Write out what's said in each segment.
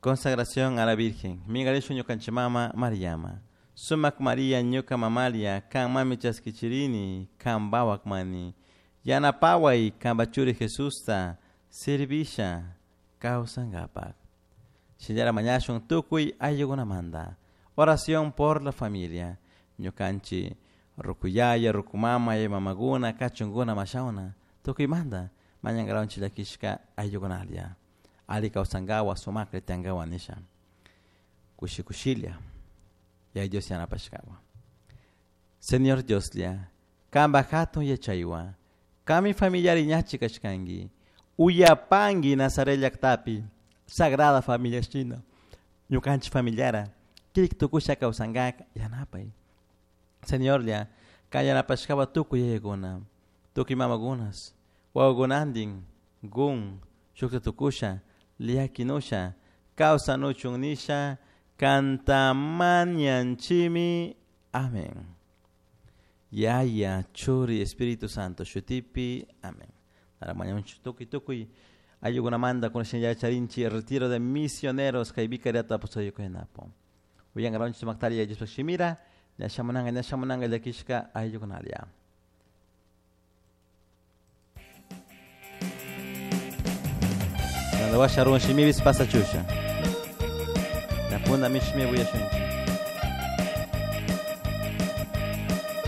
Consagración a la Virgen. Mingarishu ñukanchik mama Mariama. Sumak Maria ñuka mamalia, kan mami chaskichirini, kan bawak mani. Yanapaway kanpa churi Jesusta servisha kawsankapak. Shinallara mañashun tukuy ayllukunamanta. Oración por la familia. Ñukanchik rukuyaya, rukumama, mamakuna, kachunkuna, mashawna. Tukuymanta mañankaranchik llakishka ayllukunalla. Ali kawsankawa, sumaklla tiyankawa nisha. Kushi kushilla. Yaya Dios yanapashkawa. Señor Dioslla, kanpa hatun yachaywan, kanmi familiari ñachi kashkanki, uyapanki Nazaret llaktapi, Sagrada Familia shina, ñukanchik familiara, kirik tukusha kawsankaka yanapay. Señorlla, kan yanapashkawa tukuy yayakuna, tukuy mamakunas, wawakunantin, gun, shukta tukusha, llakinusha, kawsanuchun nisha, kantamañanchimi. Amén. Yaya, Churi, Espíritu Santo, shutipi. Amén. Mañanchi tukuy tukuy ayllukunamanta kunashin yacharinchi retiro de misioneros kay vicariato apostólico de Napo. Uyankaranchik sumaktalla Diospak shimira, ña shamunanga llakishka ayllukunalla. Washa ruwan shimibis pasa chusha. La punda mishmi uyashunchi.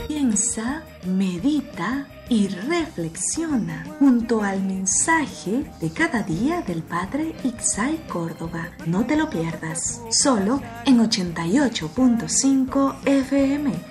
Piensa, medita y reflexiona junto al mensaje de cada día del Padre Ixay Córdoba. No te lo pierdas. Solo en 88.5 FM.